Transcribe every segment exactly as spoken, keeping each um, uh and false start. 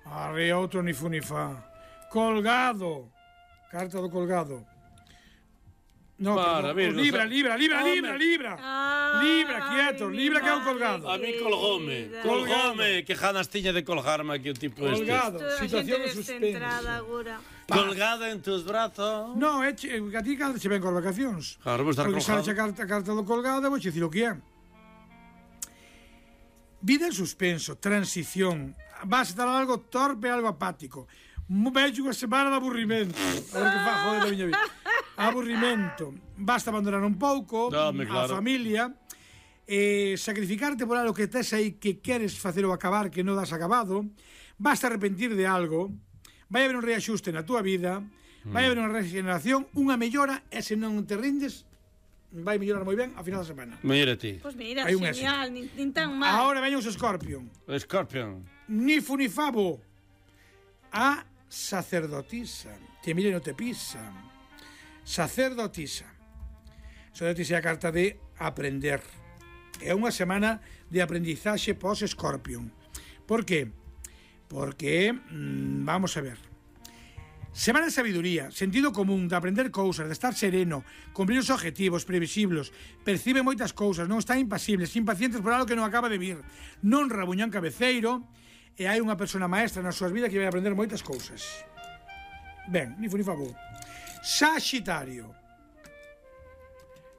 Arre, outro ni fu ni fa. Colgado. Carta do colgado. No, Para, perdón. mira, Libra, o sea, libra, libra, home. libra, libra. Ah, Libra, quieto, libra que é un colgado. A mí colgome, colgome, que ganas tiña de colgarme aquí o tipo este. Colgado, Toda a situación xente de descentrada suspense. agora. Colgada en tus brazos. No, é che, a ti cando se ven cos vacacións. Claro, vou estar Porque colgado. sale a carta, a carta do colgado, vou che dicir o que é. Vida en suspenso, transición. Vas a estar algo torpe, algo apático. Vejo unha semana de aburrimento. A ver que fa, joder, da miña vida. Aburrimento. Basta abandonar un pouco Dame, claro. a familia, eh, sacrificarte por algo que tes aí que queres facer ou acabar que non das acabado. Basta arrepentir de algo. Vai haber un reaxuste na túa vida. Vai haber unha regeneración, unha mellora, e se non te rindes, vai mellorar moi ben a final da semana. Mira ti. Pois mira, Hai un genial, nin, nin tan mal. Ahora veñen os Scorpion. Scorpion. Ni fu ni favo. A sacerdotisa. Que mire no te pisa. Sacerdotisa. Sacerdotisa é a carta de aprender. É unha semana de aprendizaxe pos-Scorpion. Por qué? Porque, mmm, vamos a ver, semana de sabiduría, sentido común, de aprender cousas, de estar sereno, cumprir os objetivos previsibles, percibe moitas cousas, non está impasibles, impacientes por algo que non acaba de vir, non rabuñan cabeceiro, e hai unha persona maestra nas súas vidas que vai aprender moitas cousas. Ben, ni fu ni favo. Saxitario.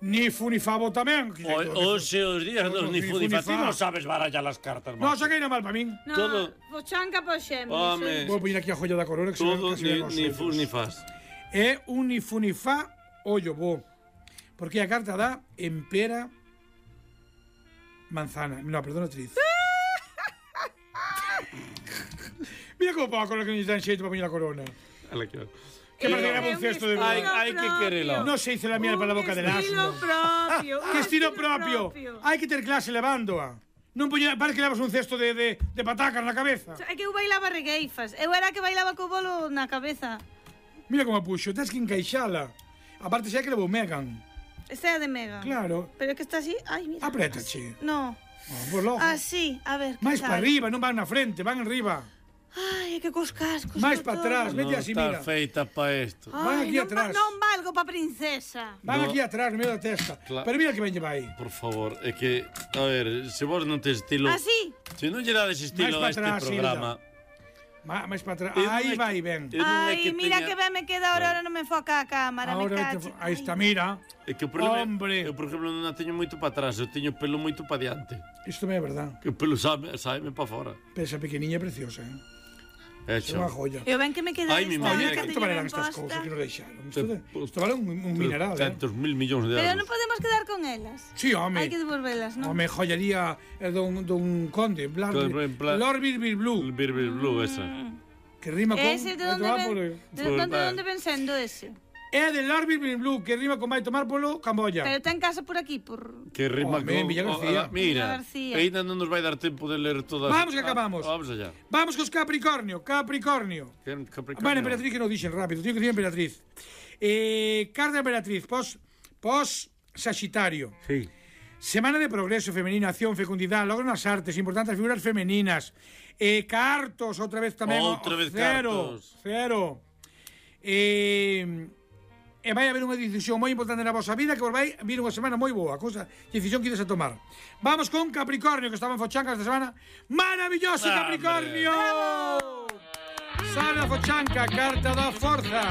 Ni fu ni favo tamén. Oxe, os días dos ni fu ni fa. Ti non sabes barallar as cartas, Non, macho. saquei na mal para min. No, todo- Pochanca po Xéminis. Home. Vou poñer aquí a joya da corona que se ve Todo casi ni, ben os ni ollos. fu ni fas. É un ni fu ni fa ollo bo. Porque a carta dá empera manzana. No, perdón, actriz. Mira como pa a corona que nos dan xeito para poñer a corona. Ala que Que parece que era un cesto de Hai, boda. hai que querelo. No se hizo la miel para la boca del Estilo asno. propio. Que estilo propio. Hai que ter clase levándoa. Non poñer, parece que levas un cesto de, de, de patacas na cabeza. É que eu bailaba regueifas. Eu era que bailaba co bolo na cabeza. Mira como a puxo, tens que encaixala. Aparte xa que levou Megan. Esta é de Mega. Claro. Pero é que está así. Ai, mira. Apriétache. No. Oh, por logo. Así, a ver. que Mais tal? para arriba, non van na frente, van arriba. Ai, é que cos cascos. Mais co para todo. atrás, Non vete así, mira. está feita pa isto. Van Ai, aquí non, atrás. va- non valgo pa princesa. Van No. aquí atrás, no medio da testa. Claro. Pero mira que ben lle vai. Por favor, é que, a ver, se vos non tes estilo... Así. Se non lle dades estilo Mais a este pa atrás, programa... Ma, máis para atrás. Eu non Aí é que- vai ben. eu non é Ai, que mira teña- que ben me queda ahora, ahora non me enfoca a cámara, me Ahora cacho. te- aí está, mira. É que o problema, Hombre. eu, por exemplo, non a teño moito para atrás, eu teño pelo moito para diante. Isto me é verdad. Que o pelo sabe, sabe para fora. Pero esa pequeniña é preciosa, eh? É É unha joya. Eu ben que me queda Ai, mi esta, madre, Oye, que canto teño valerán ben estas posta. cousas que nos deixaron? Isto, de, isto vale un, un mineral, eh? Centos mil millóns de Pero euros. non podemos quedar con elas. Sí, home. Hai que devolvelas, non? Home, joyería eh, dun, dun conde, Blar, Con- en plan- Lord Birbir Blue, Bir, bir, blue, esa. que rima con... Ese de onde ven, de Pues onde, va. onde ven sendo ese? É de Lord Birbir Blue, que rima con vai tomar polo Camboya. Pero ten casa por aquí, por... Que rima Home, con... Villa García. oh, Villa mira, García. ainda non nos vai dar tempo de ler todas... Vamos que acabamos. Ah, vamos allá. Vamos cos Capricornio, Capricornio. Que- Capricornio. Bueno, Emperatriz que non dixen rápido, tío que dicir Emperatriz. Eh, carta de Emperatriz, pos, pos Sagitario. Sí. Semana de progreso femenino, acción, fecundidade, logro nas artes, importantes figuras femeninas. Eh, cartos, outra vez tamén. Outra vez cero, cartos. Cero. Eh, e vai haber unha decisión moi importante na vosa vida que vos vai vir unha semana moi boa, cousa, decisión que ides a tomar. Vamos con Capricornio, que estaba en Fochanca esta semana. Maravilloso, ¡Hombre! Capricornio! Sale a Fochanca, carta da forza.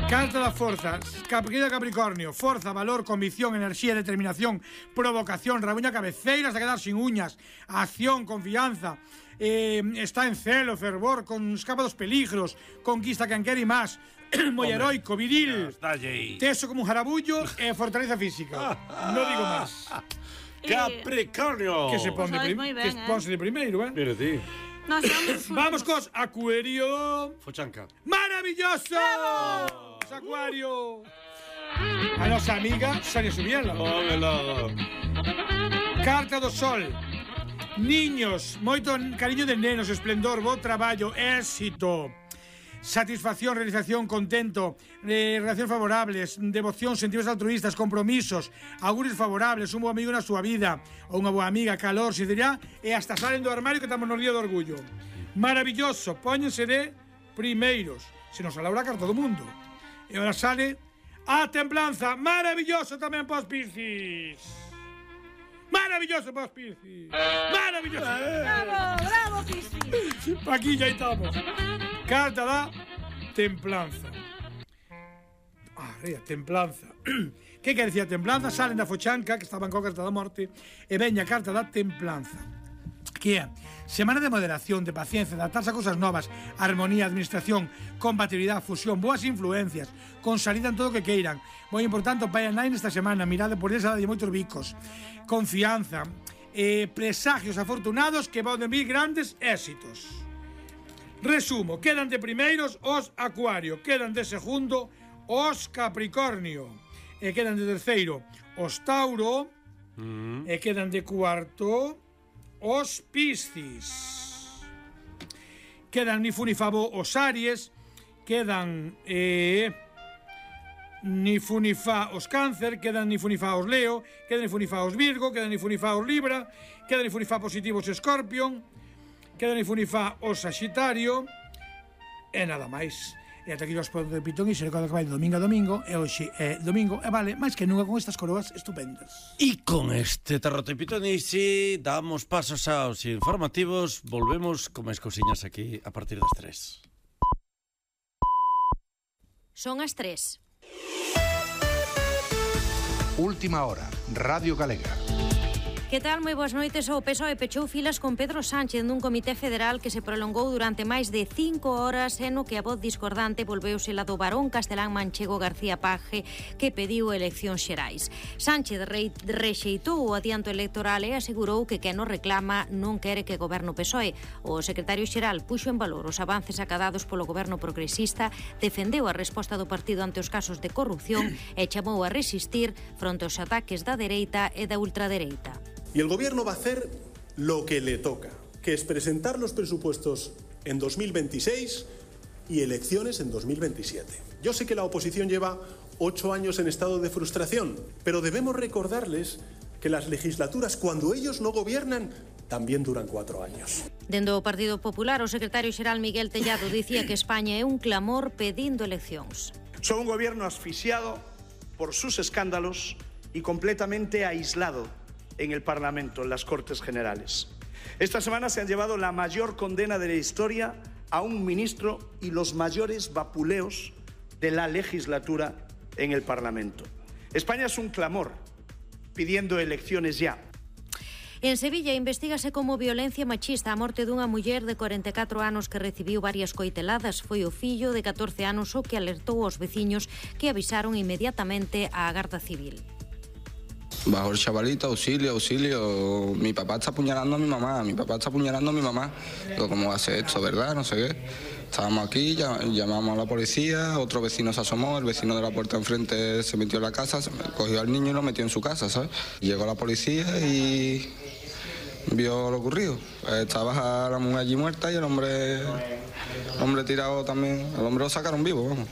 Carta da forza, querido Capricornio. Forza, valor, convicción, enerxía, determinación, provocación, rabuña cabeceira hasta quedar sin uñas, acción, confianza, eh, está en celo, fervor, con escapa dos peligros, conquista quen quere e máis, moi heroico, viril, Está aí. teso como un jarabullo e fortaleza física. Non digo máis. Capricornio. Que se pon de, sabes prim moi ben, que eh. ponse de primeiro, eh? Mira ti. Nos vamos Vamos cos Acuario. Fochanca. ¡Maravilloso! Acuario. A nosa amiga Sonia Subiela. Óvelo. Carta do Sol. Niños, moito cariño de nenos, esplendor, bo traballo, éxito. satisfacción, realización, contento, eh, relacións favorables, devoción, sentimentos altruistas, compromisos, augurios favorables, un bo amigo na súa vida, ou unha boa amiga, calor, sinceridade, e hasta salen do armario que estamos no día do orgullo. Maravilloso, póñense de primeiros. Se nos alaura a carta do mundo. E ahora sale a templanza, maravilloso tamén para os Piscis. Maravilloso para os Piscis. Maravilloso. Bravo, bravo, Piscis. Aquí ya estamos. Carta da templanza. Ah, rea, templanza. Que quer dicir a templanza? Salen da fochanca, que estaban coa carta da morte, e veña a carta da templanza. Que é semana de moderación, de paciencia, de adaptarse a cosas novas, armonía, administración, compatibilidade, fusión, boas influencias, con salida en todo o que queiran. Moi importante o pai e nai nesta semana, mirade por esa de moitos bicos, confianza, eh, presagios afortunados que van vir grandes éxitos. Resumo, quedan de primeiros os Acuario, quedan de segundo os Capricornio, e quedan de terceiro os Tauro, mm. e quedan de cuarto os Piscis. Quedan ni fu ni favo os Aries, quedan eh, ni fu ni fa os Cáncer, quedan ni fu ni fa os Leo, quedan ni fu ni fa os Virgo, quedan ni fu ni fa os Libra, quedan ni fu ni fa positivos Escorpión, quedan ni fu ni fa os Sagitario, e nada máis. E ata aquí os podo de Pitón e se recorda que vai de domingo a domingo, e hoxe é domingo, e vale, máis que nunca con estas coroas estupendas. E con este Tarrote Pitonici damos pasos aos informativos, volvemos con máis cousiñas aquí a partir das tres. Son as tres. Última hora, Radio Galega. Que tal? Moi boas noites. O P S O E pechou filas con Pedro Sánchez nun comité federal que se prolongou durante máis de cinco horas e no que a voz discordante volveuse la do varón castelán manchego García Paje que pediu eleccións xerais. Sánchez re rexeitou o adianto electoral e asegurou que quen o reclama non quere que goberno P S O E. O secretario xeral puxo en valor os avances acadados polo goberno progresista, defendeu a resposta do partido ante os casos de corrupción e chamou a resistir fronte aos ataques da dereita e da ultradereita. Y el gobierno va a hacer lo que le toca, que es presentar los presupuestos en dos mil veintiséis y elecciones en dos mil veintisiete. Yo sé que la oposición lleva ocho años en estado de frustración, pero debemos recordarles que las legislaturas, cuando ellos no gobiernan, también duran cuatro años. Dende o Partido Popular, o secretario xeral Miguel Tellado dicía que España é un clamor pedindo eleccións. Son un gobierno asfixiado por sus escándalos y completamente aislado en el Parlamento, en las Cortes Generales. Esta semana se han llevado la mayor condena de la historia a un ministro y los mayores vapuleos de la legislatura en el Parlamento. España es un clamor pidiendo elecciones ya. En Sevilla investígase como violencia machista a morte dunha muller de cuarenta e catro anos que recibiu varias coiteladas. Foi o fillo de catorce anos o que alertou aos veciños que avisaron inmediatamente á Garda Civil. Bajo el chavalito, auxilio, auxilio, mi papá está apuñalando a mi mamá, mi papá está apuñalando a mi mamá. Digo, ¿cómo hace esto, verdad? No sé qué. Estábamos aquí, llamamos a la policía, otro vecino se asomó, el vecino de la puerta enfrente se metió en la casa, cogió al niño y lo metió en su casa, ¿sabes? Llegó la policía y vio lo ocurrido. Estaba la mujer allí muerta y el hombre, el hombre tirado también, el hombre lo sacaron vivo, vamos.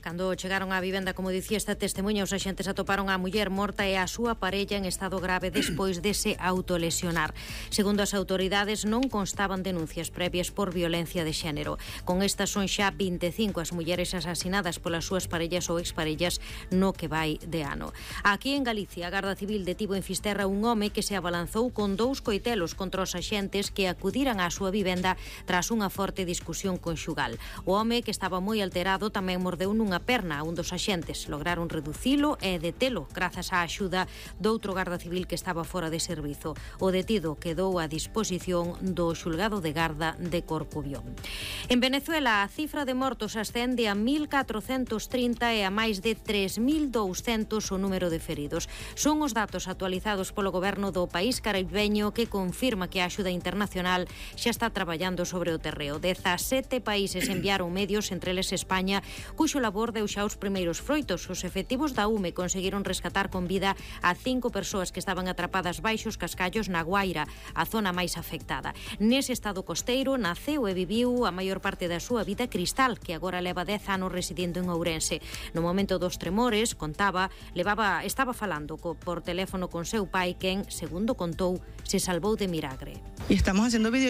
Cando chegaron á vivenda, como dicía esta testemunha, os axentes atoparon a muller morta e a súa parella en estado grave despois de se autolesionar. Segundo as autoridades, non constaban denuncias previas por violencia de xénero. Con estas son xa vinte e cinco as mulleres asasinadas polas súas parellas ou exparellas no que vai de ano. Aquí en Galicia, a Garda Civil detivo en Fisterra un home que se abalanzou con dous coitelos contra os axentes que acudiran á súa vivenda tras unha forte discusión conxugal. O home, que estaba moi alterado, tamén mordeu nun unha perna a un dos axentes. Lograron reducilo e detelo grazas á axuda doutro garda civil que estaba fora de servizo. O detido quedou a disposición do xulgado de garda de Corcubión. En Venezuela, a cifra de mortos ascende a mil catrocentos trinta e a máis de tres mil douscentos o número de feridos. Son os datos actualizados polo goberno do país caribeño que confirma que a axuda internacional xa está traballando sobre o terreo. dezasete países enviaron medios, entre eles España, cuxo labor labor deu xa os primeiros froitos. Os efectivos da U M E conseguiron rescatar con vida a cinco persoas que estaban atrapadas baixo os cascallos na Guaira, a zona máis afectada. Nese estado costeiro naceu e viviu a maior parte da súa vida Cristal, que agora leva dez anos residindo en Ourense. No momento dos tremores, contaba, levaba, estaba falando co, por teléfono con seu pai, quen, segundo contou, se salvou de milagre. Y estamos haciendo video